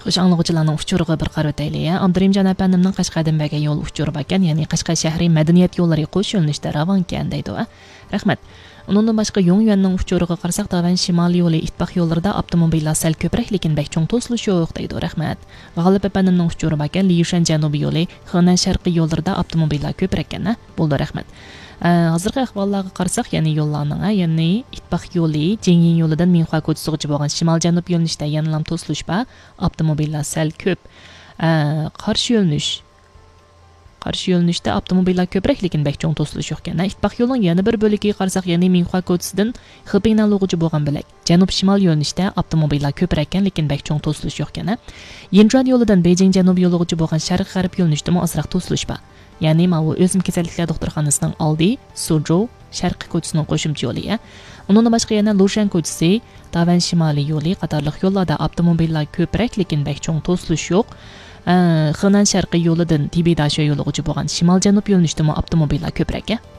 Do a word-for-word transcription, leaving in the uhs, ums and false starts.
خوش، ئاڭلىغۇچىلارنىڭ ئۇچۇرىغا بىر قارىۋېتەيلى. ئابدۇرېھىمجان ئەپەندىمنىڭ قەشقەردىن بەرگەن يول ئۇچۇرى باركەن، يەنى قەشقەر شەھىرى مەدەنىيەت يوللىرى قوش يۆنىلىشتە راۋانكەن دەيدۇ. رەھمەت. ئۇنىڭدىن باشقا يۇڭ يۈەننىڭ ئۇچۇرىغا قارىساق، داۋەن شىمالىي يولى ئىتتىپاق يوللىرىدا ئاپتوموبىللار سەل كۆپرەك، لېكىن بەك چوڭ توسۇلۇش يوق دەيدۇ. رەھمەت. غالىپ ئەپەندىمنىڭ ئۇچۇرى باركەن، ليۇشەن جەنۇبىي يولى خېنەن شەرقىي يوللىرىدا ئاپتوموبىللار كۆپرەككەن، ھە؟ بولدى، رەھمەت. ئە، ھازىرقى ئەھۋاللارغا قارىساق، يەنى يوللارنىڭ، ئە، يەنى ئىتتىپاق يولى جىڭيىن يولىدىن مىنخۇا كوچىسىغىچە بولغان شىمال جەنۇب يۆنىلىشتە يەنىلا توسۇلۇش بار. ئاپتوموبىللار سەل كۆپ. ئە، قارشى يۆنىلىش. قارشى يۆنىلىشتە ئاپتوموبىللار كۆپرەك، لېكىن بەك چوڭ توسۇلۇش يوقكەن. ئىتتىپاق يولىنىڭ يەنە بىر بۆلىكىگە قارىساق، يەنى مىنخۇا كوچىسىدىن خېپىڭنەنلۇغىچە بولغان بۆلەك. جەنۇب شىمال يۆنىلىشتە ئاپتوموبىللار كۆپرەككەن، لېكىن بەك چوڭ توسۇلۇش يوقكەن. يىنجۇەن يولىدىن بېيجىڭ جەنۇب يولىغىچە بولغان شەرقىي غەرب يۆنىلىشتىمۇ ئازراق توسۇلۇش بار. يەنى ماۋۇ ئۆسۈم كېسەللىكلەر دوختۇرخانىسىنىڭ ئالدى، سۇجۇ، شەرقىي كوچىسىنىڭ قوشۇمچە يولى، ئە. ئۇنىڭدىن باشقا يەنە لۇشەن كوچىسى، داۋەن شىمالىي يولى قاتارلىق يوللاردا ئاپتوموبىللار كۆپرەك، لېكىن بەك چوڭ توسۇلۇش يوق. ئە، خېنەن شەرقىي يولىدىن تىبىداشۆ يولىغىچە بولغان شىمال جەنۇب يۆنىلىشتىمۇ ئاپتوموبىللار كۆپرەك، ئە.